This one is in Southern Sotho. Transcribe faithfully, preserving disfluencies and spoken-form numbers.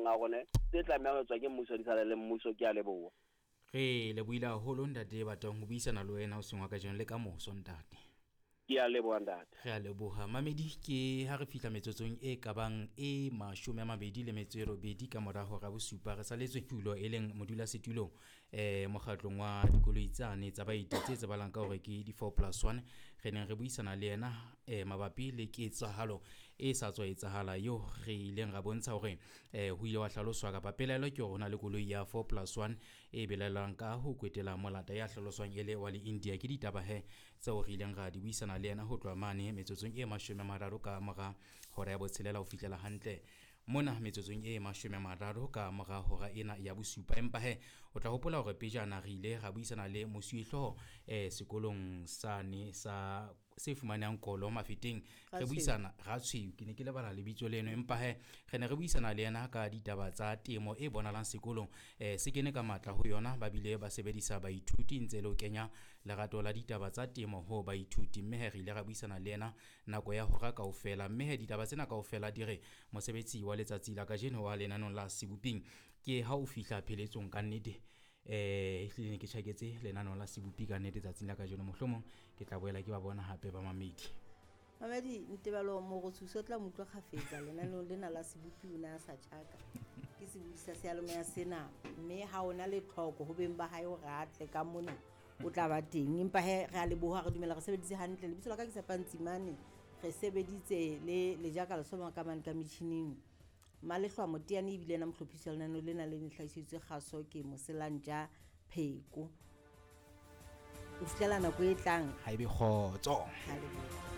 a rona tse tlamehang ho etswa ke mmuso di sale le mmuso. Ke a leboha. Re lebohile haholo ntate Batang ho buisana le wena hoseng wa kajeno le ka moso ntate. Ke a leboha ntate. Re a leboha mamedi. Ke ha re fihla metsotsong e kabang e mashome a mabedi le metso e robedi ka mora hora bosupa, re saletswe tulo e leng modulasetulo eh mokgatlong wa dikoloi tsane tsa baeti tse tsebahalang ka hore ke di four plus one. Re neng re buisana le yena eh mabapi le ketsahalo e sa tswa etsahala eo re ileng ra bontsha hore eh ho ile wa hlaloswa kapa pelaelo ke hore ho na le koloi ya four plus one e belaellwang ka ho kwetela molata ya hlaloswang e le wa le India. Ke ditaba he tseo re ileng ra di buisana le yena ho tloha mane metsotsong e mashome a mararo ka mora hora ya botshelela ho fihlela hantle mona metsotsong e mashome a mararo ka mora hora ena ya bosupa. Empa he o tla hopola hore pejana re ile ra buisana le mosuwehlooho eh sekolong sane sa se fumanehang Kolo Mafeteng, re buisana Ratshweu, ke ne ke lebala lebitso leno, empa he re ne re buisana le yena ka ditaba tsa temo e bonahalang sekolong eh se kene ka matla ho yona, ba bile ba sebedisa baithuti ntse le ho kenya lerato la ditaba tsa temo ho baithuti. Mme he re ile ra buisana le yena nako ya hora kaofela, mme he ditaba tsena kaofela di re mosebetsi wa letsatsi la kajeno wa lenaneo la Seboping ke ha o fihla pheletsong ka nnete. Eh ehlile ne ke tjhaketse lenaneo la Sebopi ka nnete tsatsing la kajeno, mohlomong ke tla boela ke ba bona hape ba mamedi. Mamedi Ntebalo Morotsuso tla mo utlwa kgafetsa lenaneong lena la Sebopi, o ne a sa tjhaka ke sebodi sa seyalemoya sena, mme ha ona le tlhoko ho beng ba hae hore a tle ka mona o tla ba teng. Empa he re a leboha, re dumela re sebeditse hantle. Lebitso la ka ke Tshepantsimane, re sebeditse le Lejaka Lesoma ka mane ka metjhining. Malehlwa Moteane ebile ena mohlophisi wa lenaneo lena le ne hlahisitswe kgaso ke Moselantja Pheko. Ho fihlela nako e tlang. Ha ebe kgotso. Ha leboha.